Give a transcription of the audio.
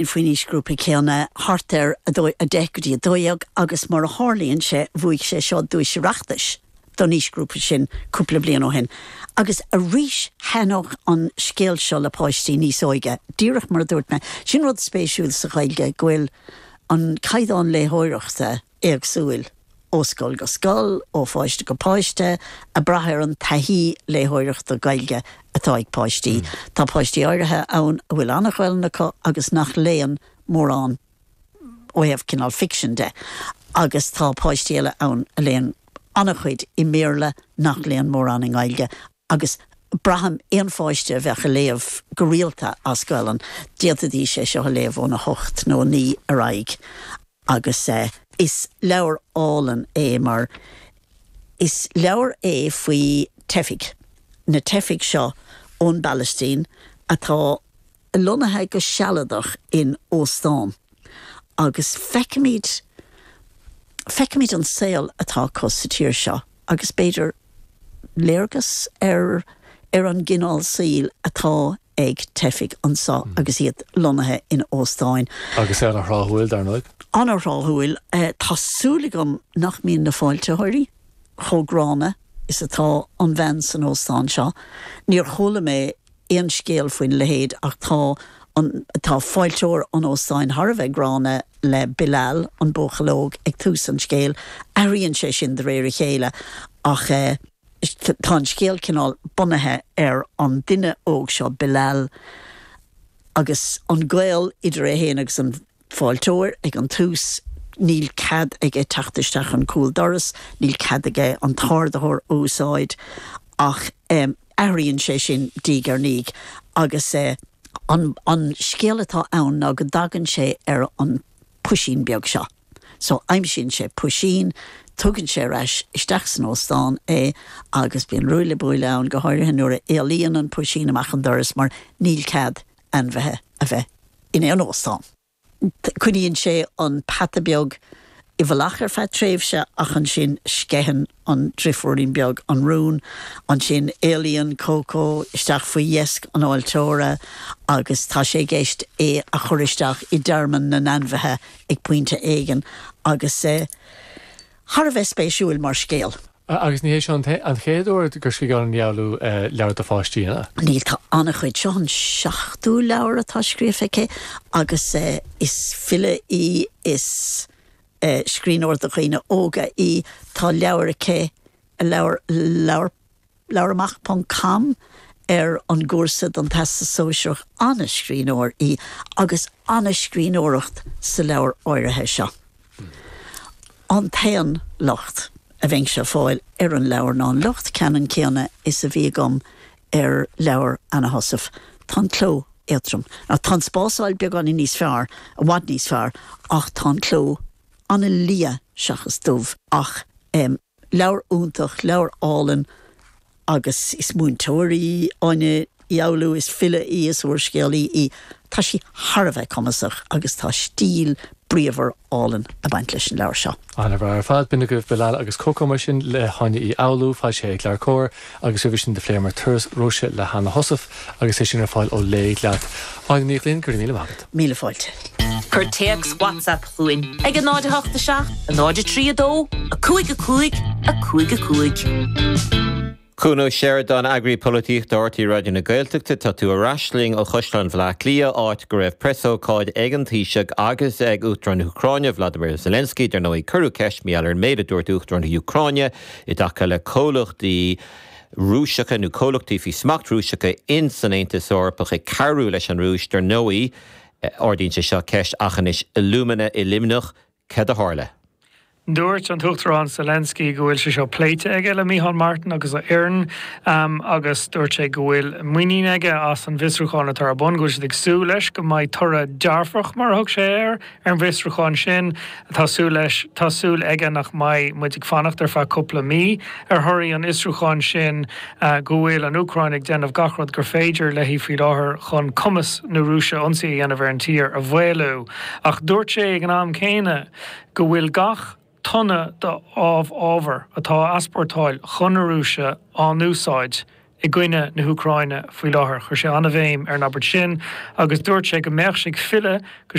Faoin aoisghrúpa céanna, thart ar 10 go dtí 12, agus mar a tharlaíonn sé, bhuaigh sé seo duais Oireachtais don aoisghrúpa sin cúpla bliain ó shin. Agus arís, thaitneodh an scéal seo le páistí níos óige, díreach mar a dúirt mé. Sin rud spéisiúil sa Ghaeilge, go bhfuil an caighdeán léitheoireachta éagsúil ó scoil go scoil, ó pháiste go páiste, ag brath ar an taithí léitheoireachta Gaeilge atá ag páistí. Tá páistí áirithe ann a bhfuil an-Ghaelainn acu agus nach léann mórán ó thaobh cineál ficsin de, agus tá páistí eile ann a léann an-chuid i mBéarla nach léann mórán i nGaeilge. Agus braithim, aon pháiste a bheadh ag léamh go rialta as Gaelainn, d'fhéadfaidís é seo a léamh óna hocht nó a naoi ar aghaidh. Agus is leabhar álainn é mar is leabhar é faoi teifigh, na teifigh seo ón bPalaistín atá lonnaithe go sealadach in óstán agus feicimid, feicimid an saol atá acu sa tír seo agus b'fhéidir léargas ar ar an gcineál saoil atá ag teifigh anseo agus iad lonnaithe in óstáin. Agus é ana-thráthúil, dar ndóigh. Ana-thráthúil. Tá súil agam nach mbíonn na fáiltitheoirí chomh gránna is atá an bhean san óstán seo. Níor chuala mé aon scéal faoina leithéid ach tá an, tá fáilteoir an óstáin thar a bheith gránna le Bilal, an buachaill óg, ag tús an scéil. Athraíonn sé sin de réir a chéile ach tá an scéal cineál bunaithe ar an duine óg seo, Bilal, agus an gaol idir é féin agus an. fáilteoir ag an tús, níl cead aige teacht isteach an cúl doras, níl cead aige an t-ardaitheoir a úsáid ach athraíonn sé sin diaidh ar ndiaidh agus an an scéal atá ann ná go dtagann sé ar an puisín beag seo. So aimsíonn sé puisín, tugann sé ar ais isteach san óstán é agus bíonn ruaille buaille ann, go háirithe nuair a éalaíonn an puisín amach an doras mar níl cead ainmhithe a bheith in aon óstán. Coinníonn sé an peata beag i bhfolach ar feadh tréimhse ach ansin sceitheann an driofúirín beag an rún. Ansin éalaíonn Coco isteach faoi dheasc an fháilteora agus tá sé i gceist é a chur isteach i dtearmann na n-ainmhithe ag pointe éigin agus thar a bheith spéisiúil mar scéal. Agus ní hé seo an chéad uair gur scrígh Áine Ní Fhoghlú leabhar do pháistí, an ea? Níl, tá an-chuid. Seo an seachtú leabhar atá scríofa aici agus is file í, is scríbhneoir do dhaoine óga í. Tá leabhar aici, leabhar, leabhar, labhair amach ponc com ar an gcúrsa don Teastas Sóisearach. An-scríbhneoir í agus an-scríbhneoireacht sa leabhar áirithe seo. An t-aon locht a bheinnse ag fáil ar an leabhar ná an locht ceannann céanna is a bhí agam ar leabhar Anna Heussaff, tá an cló éadtrom. Now tá an spásáil beagáinín níos fearr, i bhfad níos fearr, ach tá an cló an-liath seachas dubh. Ach em. leabhar iontach, leabhar álainn agus is múinteoir í Áine Ní Fhoghlú, is file í, is úrscéalaí í. Tá sí thar a bheith cumasach agus tá stíl bríomhar álainn ag baint leis an leabhar seo. An-bhreá ar fad. B'in agaibh Bilal agus Coco mar sin le hÁine Uí Fhoghlú, foilsithe ag LeabhairCOMHAR, agus roimhe sin do phléamar Turas Róise le hAnna Heussaff agus é sin ar fáil ó Léigh Leat. Áine Ní Ghlinn, go raibh míle maith agat. Míle fáilte. Cuir téacs WhatsApp chugainn ag 0 8 7 0 3 2 5 5 5 5. Cuan Ó Seireadáin, Eagraí Polaitíochta RTÉ Raidió na Gaeltachta, tá tú ar ais linn ó Chaisleán Bhaile Átha Cliath, áit go raibh preasócáid ag an Taoiseach agus ag Uachtarán na hÚcráine, Vladimir Zelensky. Dar ndóigh, cuireadh ceist mar gheall ar an méid a dúirt Uachtarán na hÚcráine i dtaca le comhlachtaí Rúiseacha nó comhlachtaí faoi smacht Rúiseacha in san Aontas Eorpach ag cabhrú leis an Rúis. Dar ndóigh, Ardaíonn sé seo ceist ach anois Illumina i Luimneach, cad a tharla? Dúirt an tUachtarán Zelensky go bhfuil sé seo pléite aige le Micheál Martin agus a fhoireann agus dúirt sé go bhfuil muinín aige as an bhfiosrúchán atá ar bun, go bhfuil siad ag súil leis go mbeidh toradh dearfach, mar a thug sé air, ar an bhfiosrúchán sin. Tá súil leis, tá súil aige nach mbeidh muid ag fanacht ar feadh cúpla mí ar thorthaí an fhiosrúcháin sin. go bhfuil an Úcráin ag déanamh gach rud gur féidir léi faoi láthair chun cumas na Rúise ionsaí a dhéanamh ar an tír a mhaolú. Ach dúirt sé ag an am céanna go bhfuil gach tonna d'amhábhar atá á easpórtáil chun na Rúise á n-úsáid. i gcoinne na hÚcráine faoi láthair. Chuir sé an-bhéim ar an abairt sin agus dúirt sé go mbeadh sé ag filleadh go.